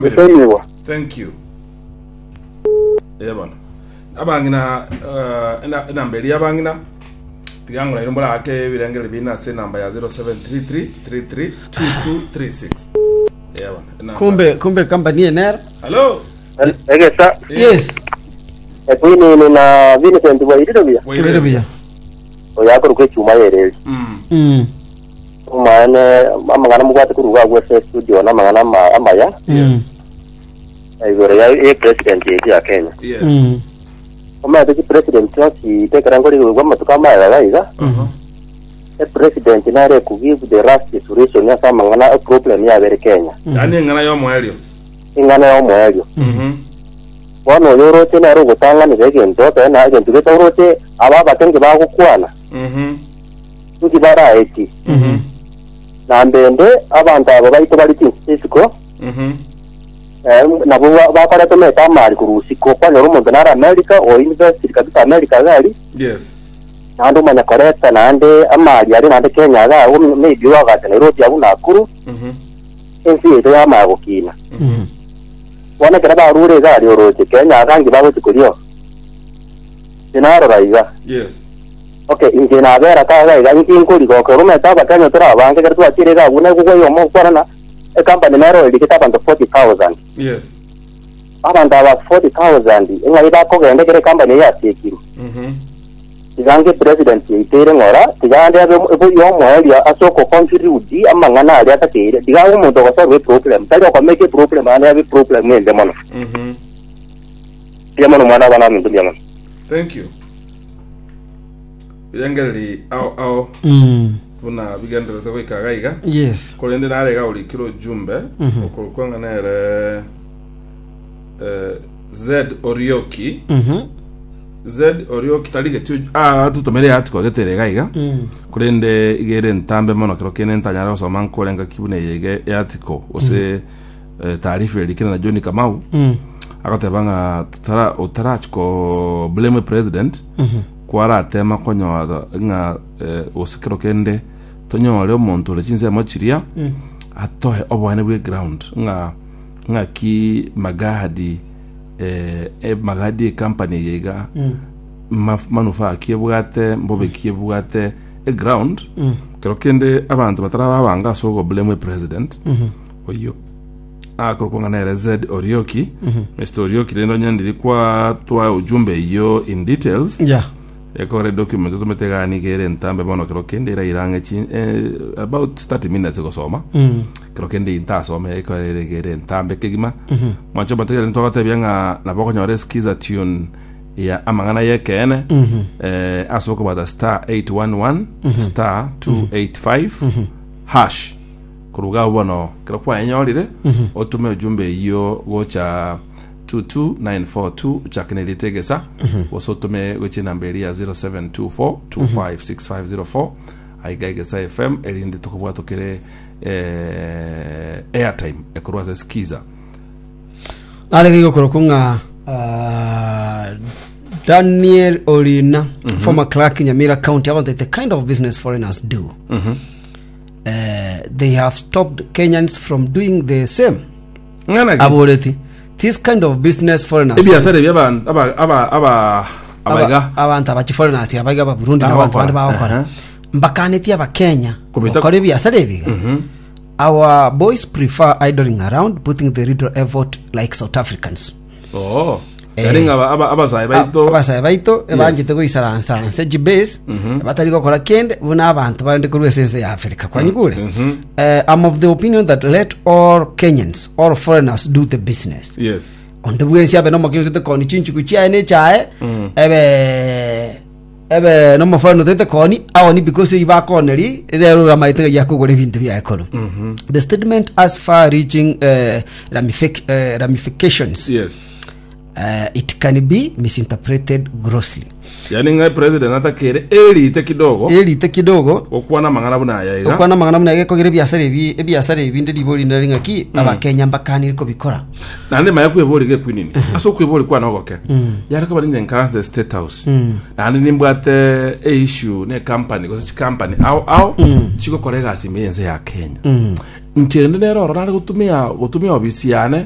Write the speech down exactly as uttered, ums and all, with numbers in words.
Gusemiwa. Thank you. Eh bono. Abang'ina eh, ena- enamba eria abang'ina tiga ng'ora ino morake ebirengeri bine ase enamba ya zero seven three three three three two two three six. Eh bono. Enamba. Kumbe kumbe company enero. Hello. Egesa. Yes. Ekwinini na Vincent bwairire buya. Kebere buya. Oyo akorokwa echuma yereri. Mm. Mm. Omane amang'ana mubwate kuruga agwo ase studio na amang'ana ama- amaya Yes. igoro ya ya president yetu ya Kenya. Yes. Mm. Omanyete chi president chonsi tekera ngorigwe amatuko amaya gaiga. Uh-huh. E president nare ku give the last solution ase amang'ana e problem yabere Kenya. Yaani eng'ana y'omoerio. Ing'ana ya omoerio. Mhm. Bono oyo oroche nere ogotang'anera egento tena egento gete oroche aba abake bagokwana Mhm. nki baraeti Mhm. na mbende abantu abo baito bari chinsi isiko Mhm. eh, nabo ba- bakorete meta amari kurusiko kwanyora omonto nare America o university kabisa America gari Yes. naende omanya koreta naende amari ari naende Kenya iga agwo maybe wagacha Nairobi abu Nakuru Mhm. ensi yaito yamaya gokina. Mm. Bono ekero barure iga ari oroche Kenya iga nki bagochi korio tinarora iga. Yes. Okay, inche nabera kaga iga nki nkorigoka omanyete abakenya tore abange ekero twachire iga abwo nabo oyomo okwarana ecompany nero erigete abanto forty thousand. Yes. Abanto aba forty thousand eng'ai bakogenda ekere ecompany eye yasiekirwe? Mhm. Tiga nge president yaiteire ng'ora tiga ande abe yomoeria ase okoconclude amang'ana aria atakeire tiga abe omonto ogosolve eproblem tari okomake eproblem ande abe eproblem ende mono. Mhm. Mbuya mono mwana abana aminto mbuya mono. Thank you. Birengereri ao ao Mm. buna bigenderete goika gaiga. Yes. Korende narega orikire ojumbe okorokwa ng'a nere eh, Z Orioki. Mhm. Z Orioki tarigeti ah tutomere article getere gaiga. Mm. Korende igere ntambe mono kero kene ntanyara gosoma nkorenga kibune yege article gose eh, taarifa erikire na John Kamau. Mm. Agoteba ng'a tutara otarachi ko blame president kwaratema konyora ng'a eh, gose kero kende tonyore omonto ore chinsemo chiria atoe oboene bwe ground ng'a ng'aki magadi eh, e magadi ecompany eye iga maf- manufaa ki ebwate mbobe ki ebwate e ground kero kende abanto batara babanga ase ogoblame president oyo akorokwa ng'a nere Z Orioki. Mister Orioki, rende onyendiri kwa twa ujumbe iyo in details. Yeah. Ekore document otomete gani kere ntambe bono kero kende ira chi eh, about thirty minutes gosoma. Mm. Kero kende intasome ekore kere ntambe kegima mwancho bategere ntwagatebia ng'a nabo okonyora Skiza tune ya amang'ana yekeene eh, ase okobata star eight one one star two eight five hash koruga abo bono kero kwaenyorire otume ujumbe iyo gocha two two nine four two uchake nerite egesa gose otume gochia enamba eri ya zero seven two four two five six five zero four aiga Egesa F M erinde tokobwatokere eh, airtime ekorwa ase Skiza. Narege gokorokwo ng'a ah, Daniel Orina, former clerk in Nyamira County, about the kind of business foreigners do. Uh, they have stopped Kenyans from doing the same. Ng'ana ki? Aboreti this kind of business foreigners Ebiasara ebi aba aba aba aba abaiga abantu abachi foreigners abaiga ba Burundi na abantu bandi Bagokora. bagokora Aha. mbakaneti abakenya Komita- gokora ebiasara ebiga. Our boys prefer idling around, putting the little effort like South Africans. Oh. Eh. Yani ng'aba aba abasae baito Abasae baito Yes. ebanchete goisaransa nse chibase batari gokora kende buna abantu barende korwa ase ense ya Africa kwanyigure. Eh, I'm of the opinion that let all Kenyans or foreigners do the business. Yes onde bwensi abe nomokinyi otete koni chinchuku chiaye na echae ebe ebe nomoforeign otete koni aoni because eyi bakoneri rero ramaete yakogora ebinto biaye kono. The statement has far reaching uh, ramific, uh, ramifications. yes uh, it can be misinterpreted grossly. Yani ng'a president atakere erite kidogo Erite kidogo gokwana mang'ana buna aya iga. Okwana mang'ana muna gekogera ebiasara ebi ebiasara ebi ndi ribori ndari ng'aki abakenya mbakanire kobikora. Naende maya kwebori gekwinini ase okwebori kwana ogoke yare koba ninye nkaranse the State House naende nimbwate e issue ne company gose chicompany ao ao chigokora egasi ime yense ya Kenya. Ncherende nero ororo nare gotumia gotumia ofisi yane.